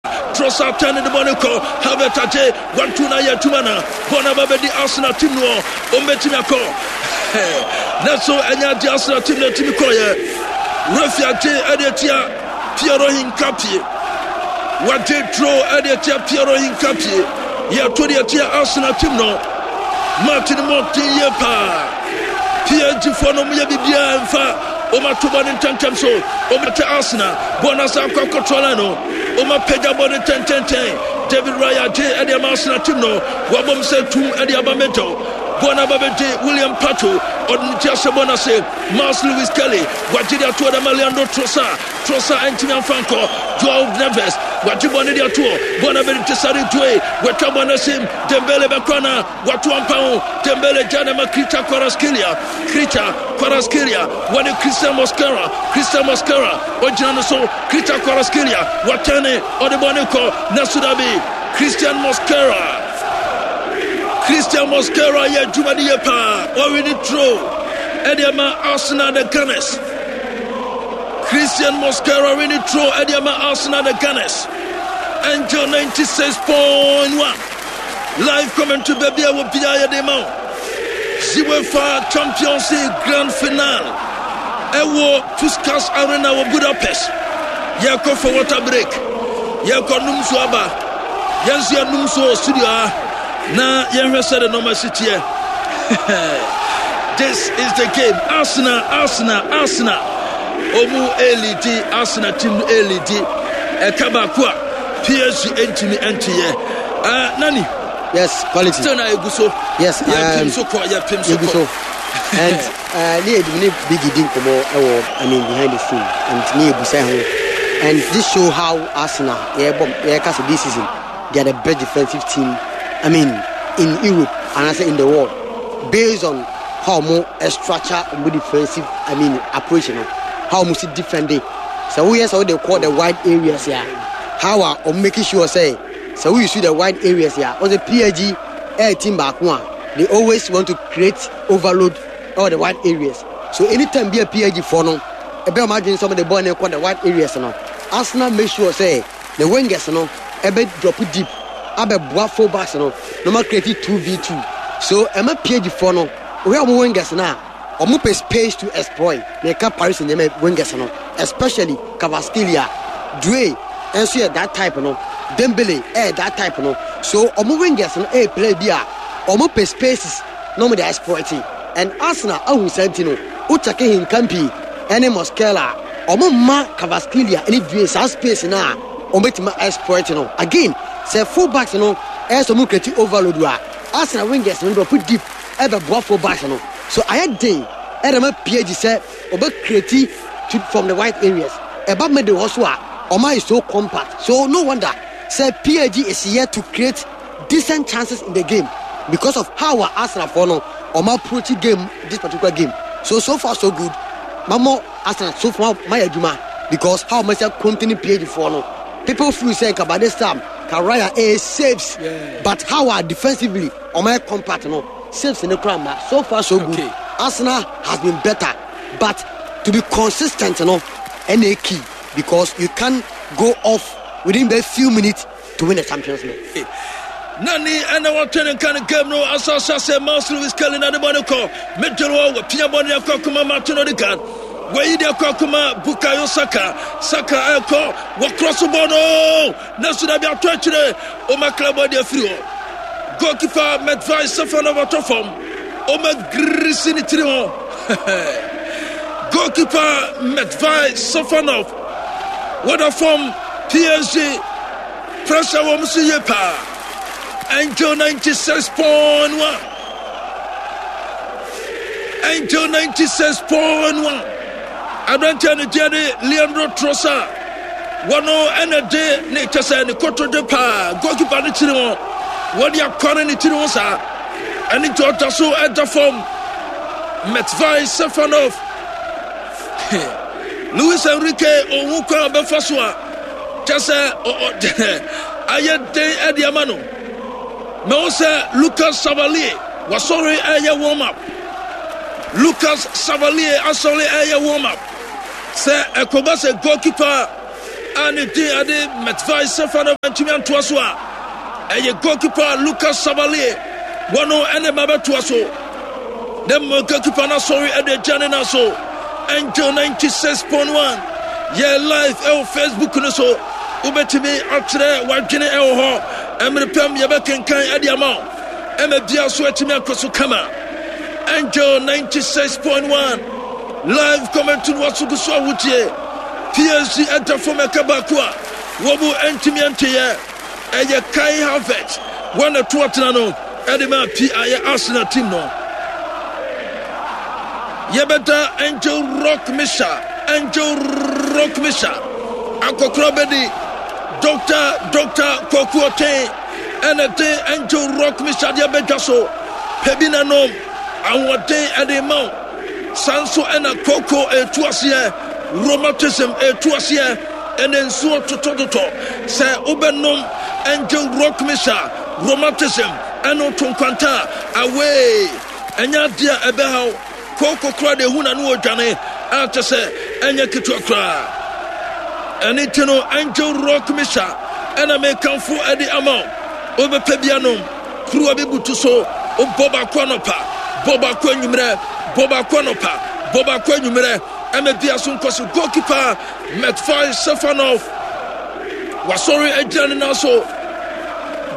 Trossard tɛn ne de bɔ ne kɔ Havertz agye wantu na ayɛ adwuma na bɔ no aba bɛdi Arsenal team no wɔn bɛtumi akɔ nanso ɛnyɛ agye Arsenal team no atumi kɔyɛ Rafi agye ɛde atia Piero Hincapie wagye tro ɛde atia Piero Hincapie yɛto de atia Arsenal team no match no mɔden yie paa PSG foɔ no yɛ biribiara mfa wɔn ato bɔ ne ntɛntɛm so wɔn ate Arsenal bɔ no asa akɔ akɔtoa line no wɔn apagya bɔ ne ntɛntɛntɛn David Raya gye ɛde ama Arsenal team no wɔabom sɛ tum ɛde aba middle bɔ no aba bɛgye William Pacho ɔde ne ti ahyɛ bɔ no ase Miles Lewis Kelly wagye de atoɔ de ama Leandro Trossard Trossard antumi amfa nkɔ Joao Neves wagye bɔ no de atoɔ bɔ no abɛde Tesare Due watwa bɔ no asim Dembele bɛkɔ na Wato ampa ho. Dembele gya na ma Kricha Kvaratskhelia. Kricha Kvaratskhelia wɔne Christian Mosquera. Christian Mosquera ogyina no so. Kricha Kvaratskhelia watɛne ɔde bɔ ne kɔ na so dabi. Christian Mosquera. Christian Mosquera yɛ adwuma de yɛ paa. Ɔwe ne turo ɛde ama Arsenal the Gunners. Christian Mosquera we ne turo ɛde ama Arsenal the Gunners. Angel 96.1. Live commentary baabi a wɔ biara yɛde ma wo. UEFA Champions League Grand Finale ɛwɔ Puskas Arena wɔ Budapest. Yɛkɔ for water break. Yɛkɔ num so aba. Yɛn nso yɛnum so wɔ studio ha na yɛnhwɛ sɛ de nɔɔma si teɛ. This is the game. Arsenal, Arsenal, Arsenal. Omu elidi, Arsenal team no elidi. Ɛka baako a PSG ntumi nteyɛ. Uh, Nani. Yes, quality. Still na egu so. Yes, um, yɛ so kɔ, yɛ pim so kɔ. So. And uh, ne yɛ ne Biggie di nkɔmɔ ɛwɔ I mean behind the scene and ne yɛ busa ho. And this show how Arsenal yɛ bɔ yɛ kasa this season they are the best defensive team I mean in Europe and I say in the world based on how mo structure mo defensive I mean approach you know how mo si defend it. Sɛ woyɛ sɛ wode kɔ the wide areas a how a wɔn make sure sɛ sɛ wo use the wide areas a wɔn sɛ PSG ɛyɛ team baako a they always want to create overload ɛwɔ the wide areas so anytime bi a PSG foɔ no ɛbɛn wɔn adwene sɛ wɔn de bɔɔl no kɔ the wide areas no Arsenal make sure sɛ the wingers no ɛbɛ drop deep abɛboa full backs no na wɔn create 2v2 so ɛma PSG foɔ no wɔyɛ wɔn wingers no a Ɔmo pɛ space to exploit, meka Paris Saint Germain wingers no especially Kvaratskhelia, Doue nso yɛ that type no, Dembele ɛyɛ that type no, so ɔmo wingers no ɛyɛ player bi a ɔmo pɛ spaces na ɔmo de exploit and Arsenal ahu saa nti no wo check Hincapie ɛne Mosquera a ɔmo mma Kvaratskhelia ɛne Doue saa space no a ɔmo bɛtumi exploit no. Again sɛ full backs no ɛyɛ sɛ ɔmo create overload a Arsenal wingers no drop deep ɛbɛboa full backs no so ayɛ den ɛde ma PSG sɛ ɔbɛ create to from the wide areas ɛba middle hɔ so a ɔma ayɛ so compact so no wonder sɛ PSG is yet to create decent chances in the game because of how a Arsenal foɔ no ɔma approach game this particular game so so far so good mamɔ Arsenal so far mayɛ adwuma because how ɔma sɛ contain PSG foɔ no people feel sɛ nka by this time ka Raya ɛyɛ saves yeah. but how are defensively Ɔmo ayɛ compact no saves no koraa mma so far so good okay. Arsenal has been better but to be consistent no ɛna key because you can go off within the few minutes to win the Champions League. Nani ɛna wɔtwe ne nka ne game no asase ase Miles Lewis Kelly na ne bɔ ne kɔ middle hɔ wɔpia bɔ ne akɔ akoma Martin Odegaard wɔyi de akɔ akoma Bukayo Saka Saka ɛkɔ wɔkorɔ so bɔ no Nanso dabi ato akyire Oma Klabo de afiri hɔ. Goalkeeper Matvei Safonov atɔ fam. Oma girisi ne tiri ho. Goalkeeper Matvei Safonov wɔda fam. PSG pressure wɔn so yie paa. Angel 96.1. Angel 96.1. Aberanteɛ no deɛ ne Leandro Trossard. Wɔno ɛna de ne kyɛ sɛ ne kotodwe paa goalkeeper no kyiri ho. Wɔde akware ne tiri ho saa. Ɛne nti ɔda so ɛda fam. Matvei Safonov. Luis Enrique ohun kwan a ɔbɛfa so a kyɛ sɛ ayɛ den ɛde ama no. Mɛwo sɛ Lucas Chevalier wasɔre ɛyɛ warm up. Lucas Chevalier asɔre ɛyɛ warm up. Sɛ ɛkɔba sɛ goalkeeper a ne din ade Matvei Safonov antumi antoa so a, ɛyɛ goalkeeper Lucas Chevalier wɔno ɛne ma bɛtoa so. Na mmom goalkeeper no asɔre ɛde agya ne nan so. Angel 96.1 yɛ live ɛwɔ Facebook no so. Wobɛtumi akyerɛ w'adwene ɛwɔ hɔ. Ɛmere pɛm yɛbɛkenkan ɛde ama wo. Ɛma bia so atumi akɔ so kama. Angel 96.1 live commentary no waso gu so a wotie. PSG ɛda fam ɛka baako a wɔn mu ntumi nteyɛ. Ɛyɛ Kai Havertz wɔn na ɛto atena no ɛde ma pi ayɛ Arsenal team no. Yɛbɛda Angel Rock Misha, Angel Rock Misha akɔkora bɛdi Dr. Dr. Kwaku Ɔtɛn ɛna de Angel Rock Misha deɛ bɛdwa so pɛ bi na nom ahoɔden ɛde ma wo. Saa nso ɛna koko ɛtu aseɛ, rheumatism ɛtu aseɛ, ɛna nsuo totɔtotɔ. Sɛ wobɛnom Angel Rock Misha, rheumatism ɛno to nkwanta away. Ɛnyɛ adeɛ a ɛbɛhaw. Kooko koraa deɛ ehu na no ɔdwane a kyɛ sɛ ɛnyɛ ketewa koraa. Ɛne nti no Angel Rock Misha ɛna mekamfo ɛde ama wo. Wobɛpɛ bi anom, kuruwa bi butu so, wobɔ baako anɔpa, bɔ baako anwummerɛ, bɔ baako anɔpa, bɔ baako anwummerɛ, ɛma bia so nkɔ so. Goalkeeper Matvei Safonov wasɔre agyina ne nan so.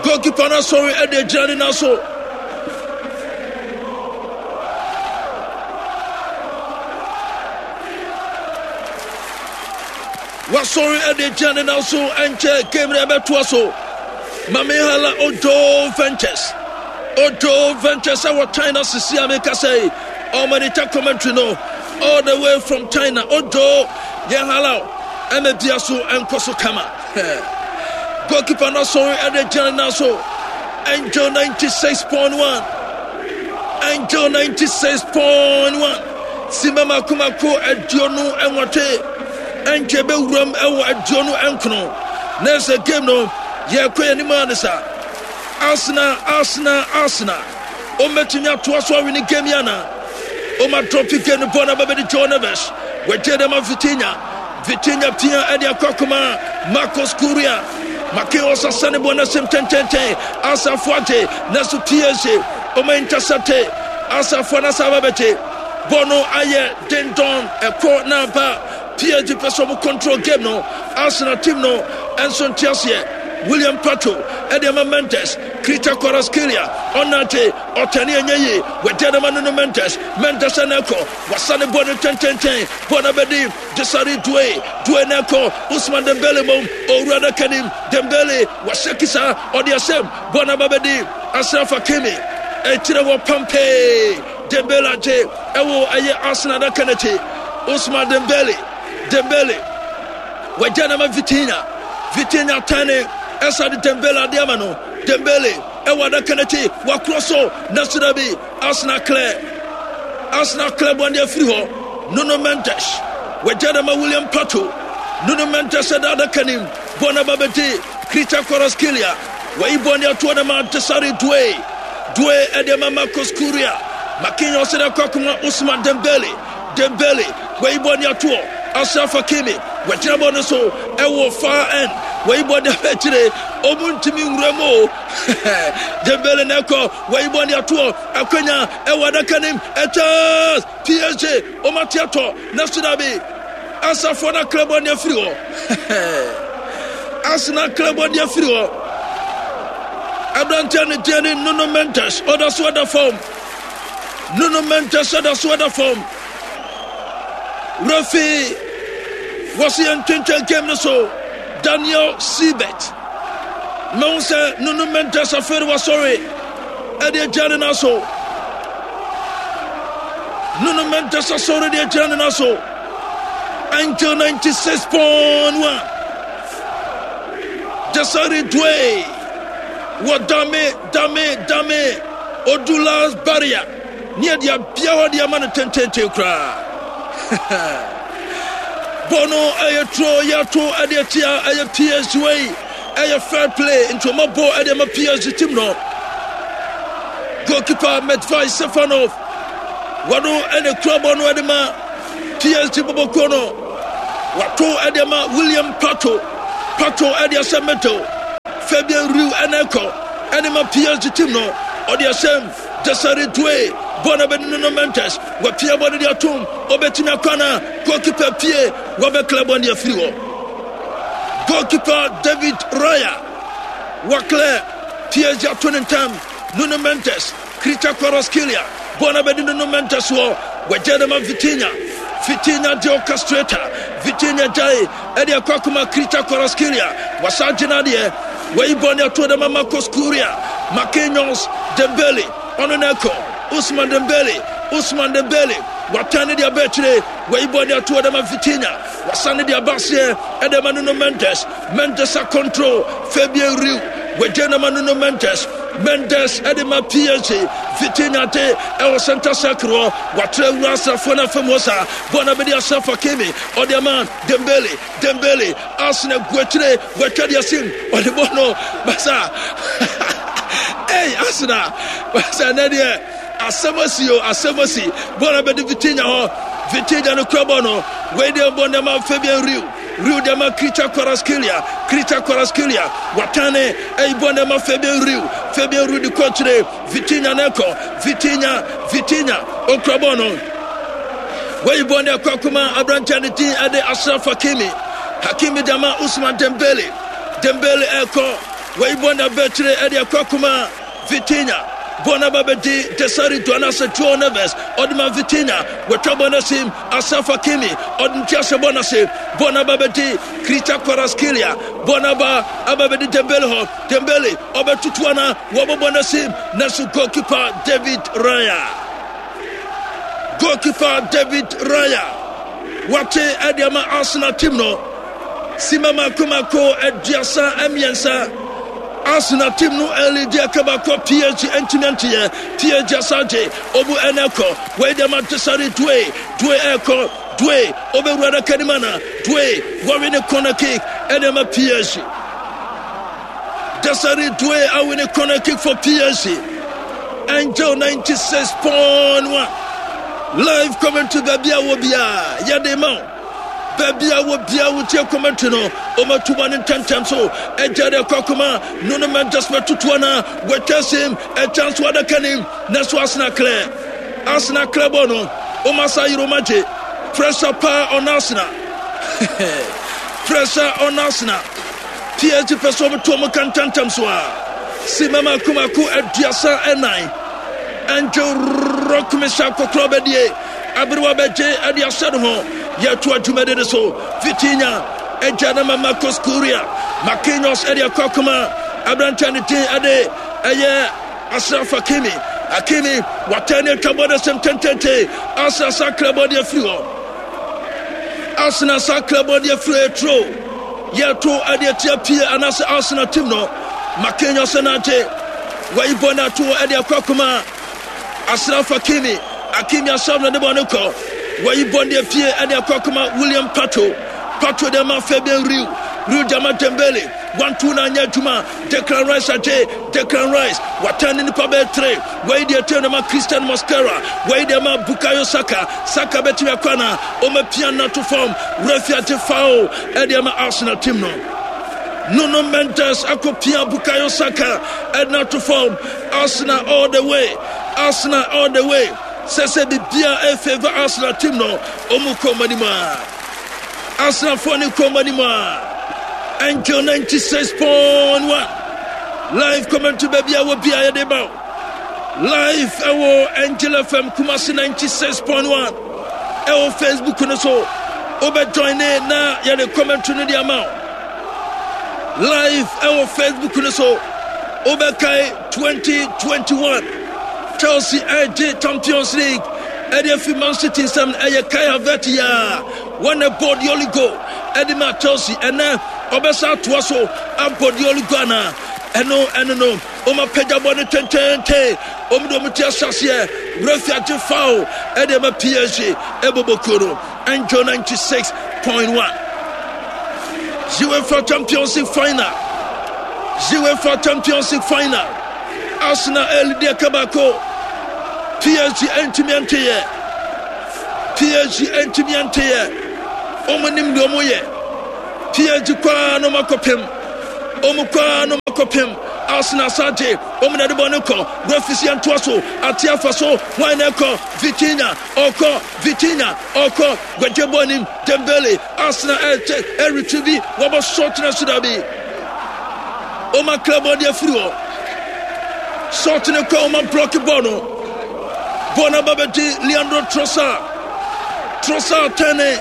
Goalkeeper no asɔre ɛde agyina ne nan so. Wasɔre ɛde gyina ne nan so ɛnkyɛ game no ɛbɛtoa so. Mame Hala Ojo Ventures. Ojo Ventures ɛwɔ China sisi a meka sɛ ɔmanita commentary no all the way from China. Ojo yɛn hala ɛna dua so ɛnkɔ so kama. Goalkeeper no asɔre ɛde gyina ne nan so. Angel 96.1. Angel 96.1. Sima mako mako 28. Ɛnkyɛ bɛwuram ɛwɔ 29. Na ɛsɛ game no yɛkɔ yɛn anim a ne sa. Arsenal, Arsenal, Arsenal. Wɔbɛtumi atoa so awini game yi anaa? Wɔn adrɔpe game no bɔɔl no aba bɛdi Joe Neves. Wɔagye dɛm Vitinha. Vitinha pia ɛde akɔ akoma Marcos Kuria. Marquinhos asane bɔɔl no ahyɛm tɛntɛntɛn. Asafo agye nanso PSG wɔn intercepte. Asafo no asa aba bɛgye. Bɔɔl no ayɛ dendɔn ɛkɔ na aba. PSG pɛ sɛ wɔn control game no. Arsenal team no nso nte aseɛ. William Pacho ɛde ama Mendes. Krita Kvaratskhelia ɔnante ɔtɛne ɛnyɛ yie wagya no ma Nuno Mendes. Mendes ɛna ɛkɔ wasane bɔ no tɛntɛntɛn bɔ no abɛdi Desiree Doue. Doue na ɛkɔ Ousmane Dembele mom owura no akanim Dembele wahyɛ kisa ɔde asɛm bɔ no aba bɛdi Achraf Hakimi ɛkyerɛ wɔ pampee Dembele agye ɛwɔ ɛyɛ Arsenal adaka n'akyi Ousmane Dembele Dembele wagya no ama Vitinha. Vitinha tɛne ɛsa de Dembele ade ama no. Dembele ɛwɔ adaka n'akyi wakorɔ so nanso dabi Arsenal clear. Arsenal clear bɔ ne afiri hɔ. Nuno Mendes wagya no ama William Pacho. Nuno Mendes ɛda adaka nim bɔ no aba bɛdi Khvicha Kvaratskhelia. Wayi bɔ ne atoɔ no ma Desiree Doue. Doue ɛde ama Marcos Kuria. Marquinhos ɛde akɔ akoma Ousmane Dembele. Dembele, wayi bɔ ne atoɔ. Achraf Hakimi, wagyina bɔ no so ɛwɔ far end. Wayi bɔ ne akyire, ɔmu ntumi nwura mu o. Dembele na ɛkɔ, wayi bɔ ne atoɔ. Akwanya ɛwɔ adaka nim, ɛkyɛs PSG, ɔmu ate atɔ, na so dabi. Asafoɔ no akra bɔ ne afiri hɔ. Arsenal akra bɔ ne afiri hɔ. Aberanteɛ ne deɛ ne Nuno Mendes, ɔda so ɛda fam. Nuno Mendes da so da fam. Referee wɔsi yɛn ntwentwɛn game no so. Daniel Siebert. Mehu sɛ Nuno Mendes afei de wasɔre ɛde agyina ne nan so. Nuno Mendes asɔre de agyina ne nan so. Angel 96.1. Desiree Dway. Wɔ dame Dame, dame, odu last barrier ne yɛde abia hɔ de ama no tententen koraa. Bɔ no ɛyɛ turo yɛto ɛde atia ɛyɛ PSG wei ɛyɛ fair play nti ɔma bɔ ɛde ama PSG team no. Goalkeeper Matvei Safonov wɔno ɛna kura bɔ no ɛde ma PSG bɔbɔkuo no. Wato ɛde ama William Pato. Pato ɛde ahyɛ middle. Fabian Riu ɛna ɛkɔ ɛde ma PSG team no. Ɔde ahyɛ mu. Desiree Doue bɔ na bɛde Nuno Mendes. Wapia bɔ no de atom. Ɔbɛtumi akɔ ana? Goalkeeper pie. Wabɛkla bɔ no de afiri hɔ. Goalkeeper David Raya waklɛ PSG ato ne ntam. Nuno Mendes, Khvicha Kvaratskhelia bɔ na bɛde Nuno Mendes wɔ. Wagya de ma Vitinha. Vitinha de orchestrator. Vitinha gyae ɛde akɔ akoma Khvicha Kvaratskhelia. Wasa gyina deɛ. Wayi bɔ ne ato de ma Marcos Curia. Marquinhos, Dembele, ɔno na ɛkɔ. Ousmane Dembele, Ousmane Dembele. Watan ne de aba akyire. Wayi bɔ ne ato de ma Vitinha. Wasan de aba aseɛ ɛde ma Nuno Mendes. Mendes a control Fabian Riu. Wagye na ma Nuno Mendes. Mendes ɛde ma PSG. Vitinha de ɛwɔ center circle hɔ. Watra awura asrafoɔ no afam hɔ saa. Bɔɔl no abɛdi Ashraf Hakimi. Ɔde ama Dembele. Dembele. Arsenal gu akyire. Watwa de asim. Ɔde bɔɔl no basa. Ei Arsenal. Basa ɛnɛ deɛ. Asɛm asi o, asɛm asi. Bɔɔl no abɛdi Vitinha hɔ. Vitinha no kura bɔɔl no. Wei deɛ bɔɔl no ama Fabian Riu. Riu de ama Khvicha Kvaratskhelia. Khvicha Kvaratskhelia watane ɛyi bɔɔl no ama Fabian Riu. Fabian Riu de kɔ akyire. Vitinha na ɛkɔ. Vitinha, Vitinha okura bɔɔl no. Wei bɔɔl no ɛkɔ akoma aberanteɛ ne din ɛde Ashraf Hakimi. Hakimi de ama Ousmane Dembele. Dembele ɛkɔ. Wei bɔɔl no abɛ akyire ɛde ɛkɔ akoma Vitinha bɔɔl no aba bɛdi Desiree Doan anaasɛ Joao Neves ɔde ma Vitinha wɔatwa bɔɔl no asim Ashraf Hakimi ɔde ne ti ahyɛ bɔɔl no ase bɔɔl no aba bɛdi Khvicha Kvaratskhelia bɔɔl no aba aba bɛdi Dembele hɔ Dembele ɔbɛtutu ana wɔbɔ bɔɔl no asim nanso goalkeeper David Raya goalkeeper David Raya wate ɛde ama Arsenal team no Simma mako mako 33. Arsenal team no ɛlidi ɛka baako PSG ntumi anteyɛ. PSG asagye ɔmu ɛna ɛkɔ. Wei deɛ ma Desare Doue. Doue ɛkɔ. Doue ɔbɛwura adaka no mu ana? Doue wɔwe ne corner kick ɛna ɛma PSG. Desare Doue awe ne corner kick for PSG. Angel 96.1 live commentary baabi a wɔ biara yɛde ma wo. Baabi a wɔ biara wotie commentary no, wɔatu ma no ntɛmntɛm so. Agya de akɔ akoma no no Mendes bɛtoto ana wɔatwa sim ɛgya nso adaka nim na so Arsenal klɛ. Arsenal klɛ bɔ no, wɔn asa yere wɔn agye. Pressure paa on Arsenal. Pressure on Arsenal. PSG pɛ sɛ wɔto wɔn ka ntɛmntɛm so a. Sima mako mako 34. Angel Rock mehyɛ akɔkorɔ bɛdie. Aberewa bɛgye ɛde ahyɛ ne ho. Yɛtoa dwumadi no so. Vitinha agya no ma Marcos Curia. Marquinhos ɛde akɔ akoma. Aberanteɛ ne din ɛde ɛyɛ Ashraf Hakimi. Hakimi watɛn ne atwa bɔde sɛm tentente. Arsenal sakra bɔde afiri hɔ. Arsenal sakra bɔde afiri etro. Yɛto ɛde atia pie anaasɛ Arsenal team no. Marquinhos na agye. Wayi bɔ no ato ɛde akɔ akoma. Ashraf Hakimi, Hakimi Ashraf na de bɔ no kɔ. Wɔyi bɔ de apue ɛde akɔ akɔma William Pacho. Pacho de ama Fabian Riu. Riu de ama Dembele. 1-2 na anyɛ adwuma. Declan Rice agye. Declan Rice watan ne nipa bɛyɛ tere. Wɔyi de atua de ama Christian Mosquera. Wɔyi de ama Bukayo Saka. Saka bɛtumi akɔ ana? Ɔmapia no ato fam. Refi agye foul ɛde ama Arsenal team no. Nuno Mendes akɔpia Bukayo Saka ɛde no ato fam. Arsenal all the way, Arsenal all the way. Sɛ sɛ bibia e favor Arsenal team no, ɔmu kɔ ɔmo anim a. Arsenal fo ne kɔ ɔmo anim a. Angel 96.1 live commentary baabi a wɔ bia yɛde ba wo. Live ɛwɔ Angel FM Kumasi 96.1 ɛwɔ Facebook no so. Wobɛ join ne na yɛde commentary no de ama wo. Live ɛwɔ Facebook no so. Wobɛkae 2021 Chelsea ɛgye Champions League ɛde afi Man City nsam ɛyɛ Kai Havertz yɛ a wɔn ɛbɔ the only goal ɛde ma Chelsea ɛnɛ ɔbɛsa atoa so abɔ the only goal ana ɛno ɛno no wɔn apagya bɔ no tententen wɔn de wɔn ti ahyɛseɛ refi agye foul ɛde ma PSG ɛbɔbɔ kuo no. Angel 96.1 UEFA Champions League final. UEFA Champions League final. Arsenal ɛlidi ɛka baako. PSG ɛntumi ɛnteyɛ. PSG ɛntumi ɛnteyɛ. Wɔn nim deɛ wɔn yɛ. PSG kɔ ara na wɔn akɔpem. Wɔn kɔ ara na wɔn akɔpem. Arsenal san gye. Wɔn na ɛde bɔ no kɔ. Referee si yɛn toa so. Ate afa so. Hwan na ɛkɔ? Vitinha ɔkɔ. Vitinha ɔkɔ. Gwagye bɔ nim. Dembele. Arsenal ɛkyɛ ɛretrieve. Wɔbɔ short na so dabi. Wɔn akra bɔ de afiri hɔ. Short no kɔ wɔn ablɔke bɔ no. Bɔ no aba bɛgye Leandro Trossard. Trossard tɛne.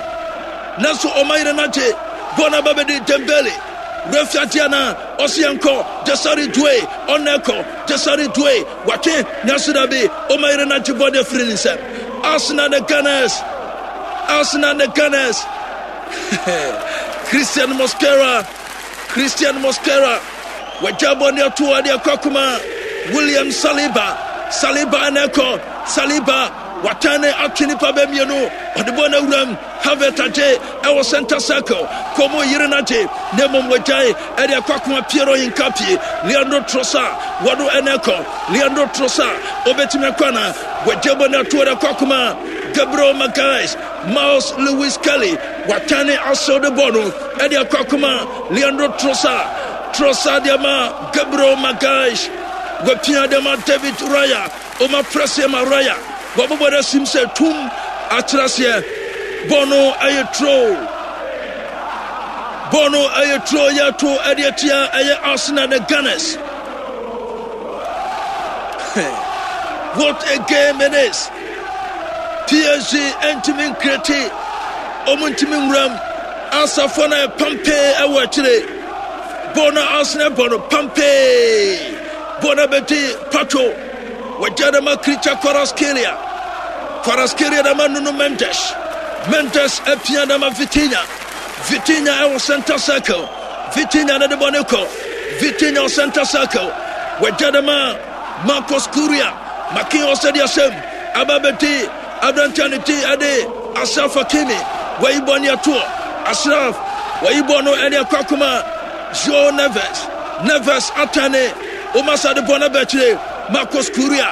Nanso wɔn ayere no agye. Bɔ no aba bɛdi Dembele. Refi agye anaa? Ɔsi yɛn kɔ. Desare Doue. Ɔna ɛkɔ. Desare Doue. Watwe. Nanso dabi. Wɔn ayere no agye bɔ de afiri ne nsam. Arsenal the Gunners. Arsenal the Gunners. Christian Mosquera. Christian Mosquera wagya bɔ ne ato ade akɔ akoma William Saliba. Saliba na ɛkɔ. Saliba watan ne atwe nipa bɛ mmienu. Ɔde bɔ no awuram. Havertz agye ɛwɔ center circle. Kɔmu yere no agye na mmom wagyae ɛde akɔ akoma Piero Hincapié. Leandro Trossard wɔdo ɛna ɛkɔ. Leandro Trossard obetumi akɔ ana? Wagya bɔ ne ato ade akɔ akoma Gabriel Magalhaes. Myles Lewis-Skelly watan ne asew de bɔ no ɛde akɔ akoma Leandro Trossard. Trossard de ama Gabriel Magalhaes. Wapia de ama David Raya. Oma prɛseɛ ma Raya. Wabobɔ no asim sɛ tum akyerɛ aseɛ. Bɔɔl no ɛyɛ turo. Bɔɔl no ɛyɛ turo yɛto ɛde atia ɛyɛ Arsenal the Gunners. What a game it is. PSG ntumi nkreti, wɔn ntumi nwuram. Asafo no yɛ pampee ɛwɔ akyire. Bɔɔl no Arsenal bɔ no pampee. Bɔɔl no bɛdi Pacho. Wɔgya no ma Kricha Kvaratskhelia. Kvaratskhelia na ma Nuno Mendes. Mendes apia na ma Vitinha. Vitinha ɛwɔ center circle. Vitinha na de bɔ ne kɔ. Vitinha wɔ center circle. Wɔgya no ma Marcos Curia. Makin ɔsɛde asɛm aba bɛdi aberanteɛ ne ti ɛde Ashraf Hakimi. Wɔyi bɔ ne ɛtoɔ. Ashraf wɔyi bɔ no ɛne ɛkɔ akoma João Neves. Neves atɛne Omasa de bɔ no abɛkyire Marcos Curia.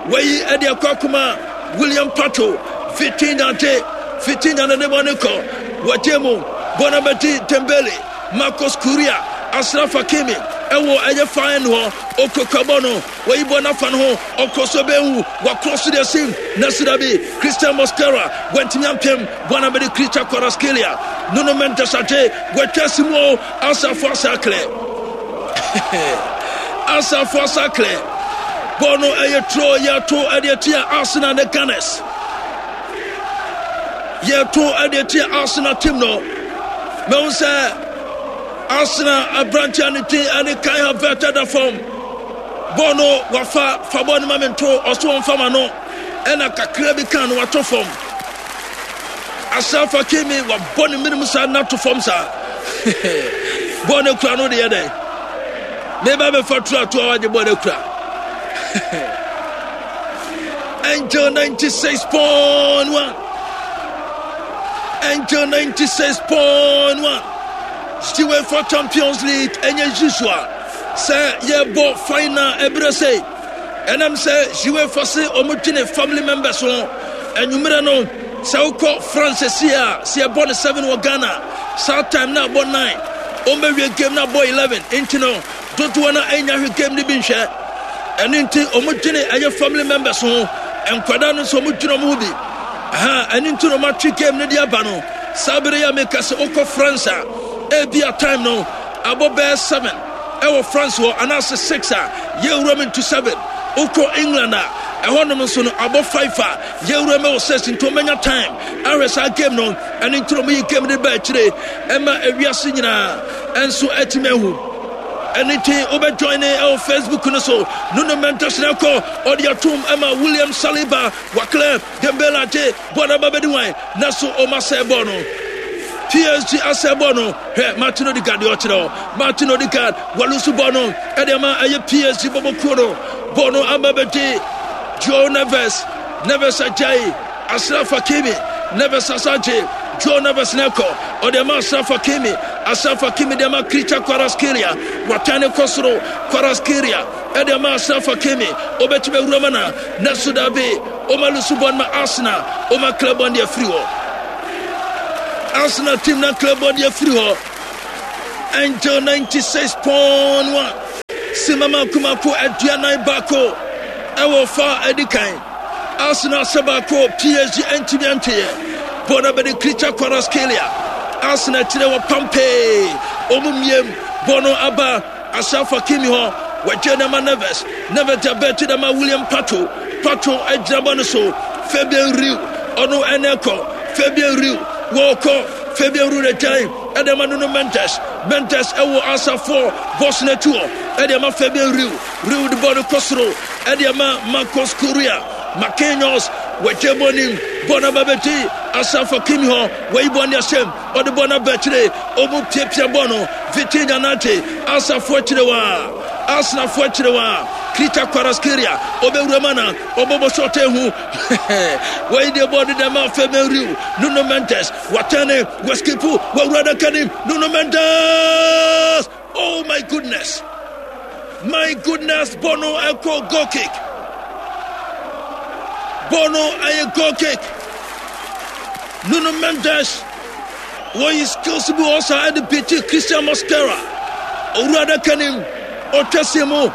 Wɔyi ɛde ɛkɔ akoma William Pacho. Vitinha de Vitinha ne ne bɔ ne kɔ. Wɔgye mu bɔ no abɛdi Dembele. Marcos Curia. Ashraf Hakimi ɛwɔ ɛyɛ fa ɛno hɔ. Okokɔ bɔ no. Wɔyi bɔ n'afa no ho, ɔkɔ so bɛhu, wakorɔ so deɛ sim, na sida bi, Christian Mosquera, wantumi ampem, bɔ na bɛde Kricha Kvaratskhelia, Nuno Mendes agye, watwa si mu o, Asafo Asakle. Asafo Asakle. Bɔɔl no ɛyɛ turo, yɛto ɛde atia Arsenal ne Gunners. Yɛto ɛde atia Arsenal team no. Mɛhu sɛ Arsenal aberanteɛ ne din ɛne Kai Havertz ɛda fam. Bɔɔl no wafa fa bɔɔl no ma me nto ɔso ɔmfa ma no ɛna kakra bi kan no wato fam. Ashraf Hakimi wabɔ ne menem saa na to fam saa. Bɔɔl no kura no deɛ dɛn? Meba bɛfa turo ato a wagye bɔɔl no kura. Angel 96.1 Angel 96.1 UEFA Champions League ɛnyɛ usual Sɛ yɛbɔ final ɛberɛ sei, ɛnam sɛ UEFA se wɔn dwene family members ho. Anwummerɛ no, sɛ wokɔ France sie a, sɛ yɛbɔ no 7 wɔ Ghana, saa time no abɔ 9, wɔn bɛwie game no abɔ 11, nti no dodoɔ no ɛnya hwɛ game no bi nhwɛ. Ɛno nti wɔn dwene ɛyɛ family members ho, nkwadaa no nso wɔn dwene wɔn ho bi. Aha, ɛno nti na wɔn atwe game no de aba no. Saa bere yi a meka sɛ wokɔ France a, ebi a time no Abɔ bɛyɛ 7 ɛwɔ France hɔ anaasɛ 6 a yɛwura mu into 7. Wokɔ England a ɛhɔnom nso no abɔ 5 a yɛwura mu wɔ 6 nti wɔbɛnya time ahwɛ saa game no. Ɛno nti na wɔyi game no ba akyire ɛma ewiase nyinaa ɛnso atumi ahu. Ɛno nti wobɛjoin ne ɛwɔ Facebook no so. Nuno Mendes na ɛkɔ ɔde atom ɛma William Saliba waklɛ Dembele agye bɔɔl no aba bɛdi wan na so ɔma sɛ bɔɔl no. PSG asɛ bɔɔl no. Hwɛ Martin Odegaard deɛ ɔkyerɛ hɔ. Martin Odegaard walusu bɔɔl no ɛde ama ɛyɛ PSG bɔbɔ kuo no. Bɔɔl no aba bɛdi Joao Neves. Neves agyae Ashraf Hakimi. Neves asa agye Joao Neves na ɛkɔ. Ɔde ama Ashraf Hakimi. Ashraf Hakimi de ama Khvicha Kvaratskhelia. Watan ne kɔ soro. Kvaratskhelia ɛde ama Ashraf Hakimi. Obetumi awura ma na Nanso dabi, ɔma lusu bɔn ma Arsenal, ɔma club bɔn de afiri hɔ. Arsenal team na club bɔ deɛ firi hɔ. Angel 96.1 Sima mako mako 41 ɛwɔ fa adi kan. Arsenal sɛ baako PSG ntumi anteɛ. Bɔɔl no abɛdi Khvicha Kvaratskhelia. Arsenal akyire wɔ pampee. Wɔn mmiem bɔɔl no aba Ashraf Hakimi hɔ. Wɔagye no ama Neves. Neves de abɛ akyi de ama William Pacho. Pacho agyina bɔɔl no so. Fabian Ruiz ɔno ɛna ɛkɔ. Fabian Ruiz wɔkɔ. Fabian Ruiz agyan ɛde ama Nuno Mendes. Mendes ɛwɔ Asafoɔ bɔs no akyi hɔ ɛde ama Fabian Ruiz. Ruiz de bɔɔl no kɔ soro ɛde ama Marcos Correa. Marquinhos wɔagye bɔɔl nim. Bɔɔl no aba bɛgye Ashraf Hakimi hɔ. Wɔyi bɔɔl no ahyɛm. Ɔde bɔɔl no aba akyire. Ɔmu piapia bɔɔl no. Vitinha nante. Asafoɔ akyire wa. Arsenalfoɔ akyire wa. Khvicha Kvaratskhelia ɔbɛwura mu ana? Ɔbɔbɔ shot ehu. Wɔyi deɛ bɔɔl no dɛm a Fabian Ruiz. Nuno Mendes watɛne. Waskipu. Wawura adaka nim. Nuno Mendes! Oh my goodness! My goodness, Bono ɛkɔ goal kick. Bono ɛyɛ goal kick. Nuno Mendes wɔyi skills bi wɔ saa ɛde piti Christian Mosquera. Owura adaka nim, ɔtwa si mu.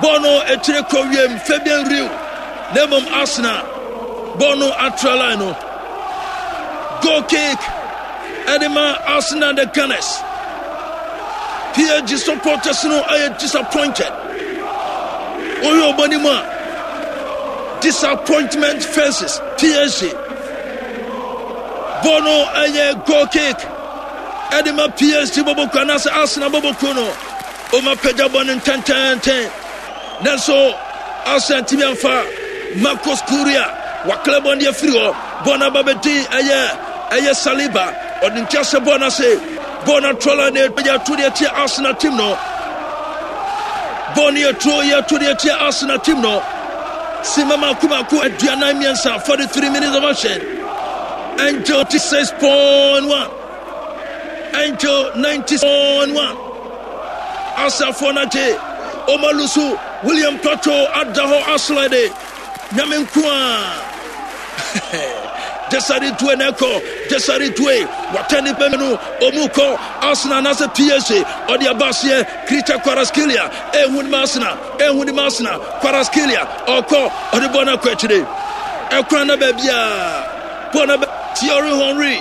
Bono akyire kɔ wiem Fabian Riu. Na mmom Arsenal Bono atra line no. Goal kick. Ɛde ma Arsenal the Gunners. PSG supporters no ayɛ disappointed. Wohwɛ ɔbɔ no mu a, disappointment faces PSG. Bɔ no ɛyɛ goal kick. Ɛde ma PSG bɔbɔ kuo anaasɛ Arsenal bɔbɔ kuo no. Ɔma pagya bɔ no ntɛntɛntɛn. Nanso Arsenal ntumi amfa Marcos Correa wakla bɔ no afiri hɔ. Bɔɔl no aba bɛdi ɛyɛ ɛyɛ Saliba. Ɔde nti ahyɛ bɔɔl no ase. Bɔɔl no atrɔla na yɛ ato deɛ tia Arsenal team no. Bɔɔl no yɛ turo yɛ ato deɛ tia Arsenal team no. Sima mako mako 43, 43 minutes of action. Angel 6.1. Angel 90.1. Asafoɔ no agye Omalusu William Pacho ada hɔ aslide Nyame nko a Desare Due na ɛkɔ Desare Due watɛ ne bɛmɛ no ɔmu kɔ Arsenal anaasɛ PSG ɔde aba aseɛ Khvicha Kvaratskhelia ɛhu ne ma Arsenal ɛhu ne ma Arsenal Kvaratskhelia ɔkɔ ɔde bɔ no akɔ akyire ɛkwan na baabi a bɔ no Thierry Henry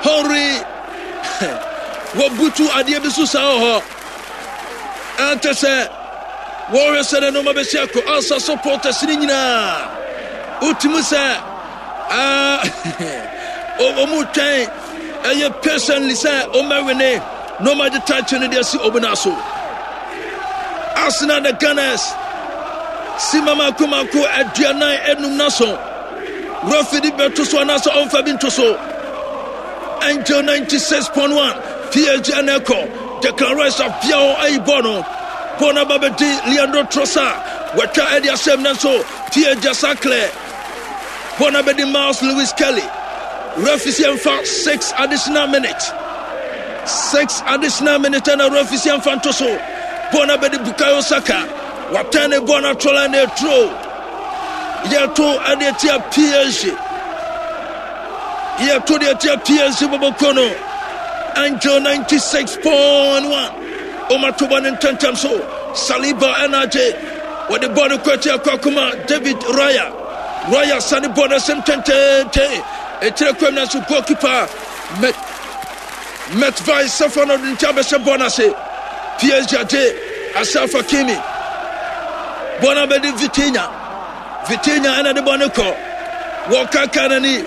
Henry Wɔbutu adeɛ bi so saa wɔ hɔ. Ɛnte sɛ wɔhwɛ sɛ ne nneɛma bɛsi akɔ ansa supporters no nyinaa. Wotumi sɛ wɔn twɛn ɛyɛ patiently sɛ wɔn bɛwene na wɔn agye title no de asi wɔn nan so. Arsenal the Gunners si mama mako 45 na so. Referee de bɛto so anaasɛ ɔmfa bi nto so. Angel 96.1 PSG ɛna ɛkɔ Declan Rice apia hɔ ayi bɔɔl no bɔɔl no aba bɛdi Leandro Trossard wɔatwa ɛde asɛm nanso PSG asa clear bɔɔl no abɛdi Miles Lewis Kelly referee si ɛmfa 6 additional minutes 6 additional minutes ɛna referee si ɛmfa nto so bɔɔl no abɛdi Bukayo Saka watɛn ne bɔɔl no atɔla na ɛturo Yɛto ɛde atia PSG. Yɛto de atia PSG bɔbɔkuo no. Angel 96.1. Ɔma to bɔ ne ntɛntɛm so. Saliba ɛna agye. Wɔde bɔ no kɔ atia kɔ akoma David Raya. Raya sane bɔ no asɛm tɛntɛntɛn. Ɛkyerɛ kwam nanso goalkeeper Met Metvai Safa no de nkyɛn abɛhyɛ bɔ no ase. PSG agye Ashraf Hakimi. Bɔ no abɛdi Vitinha. Vitinha ɛna de bɔ no kɔ. Wɔkaka n'ani.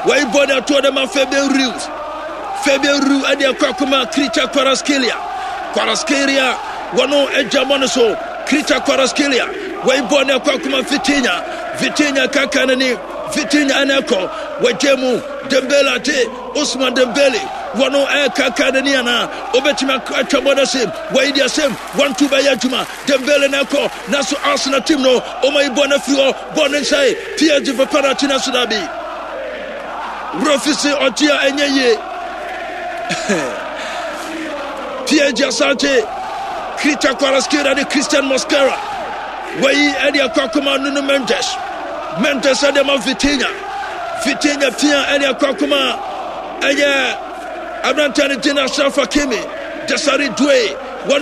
Wɔyi bɔ no atoɔ de ma Fabian Ruiz. Fabian Ruiz ɛde akɔ akoma Khvicha Kvaratskhelia. Kvaratskhelia wɔno agya bɔ no so. Khvicha Kvaratskhelia wɔyi bɔ no akɔ akoma Vitinha. Vitinha kaka n'ani. Vitinha ɛna ɛkɔ. Wɔgye mu Dembele agye Ousmane Dembele wɔno ɛkaka n'ani anaa obetumi atwa bɔ no ase wɔyi de asɛm 1-2 bɛyɛ adwuma Dembele na ɛkɔ nanso Arsenal team no ɔma yi bɔ no afiri hɔ bɔ no nhyɛe PSG for penalty nanso dabi Refi se ɔgye a ɛnyɛ yie PSG Asante Khvicha Kvaratskhelia ne Christian Mosquera wɔyi ɛde akɔ akɔma Nuno Mendes Mendes ɛde ma Vitinha. Vitinha pia ɛne akɔ akoma ɛyɛ aberanteɛ no din Ashraf Hakimi. Desiree Doué.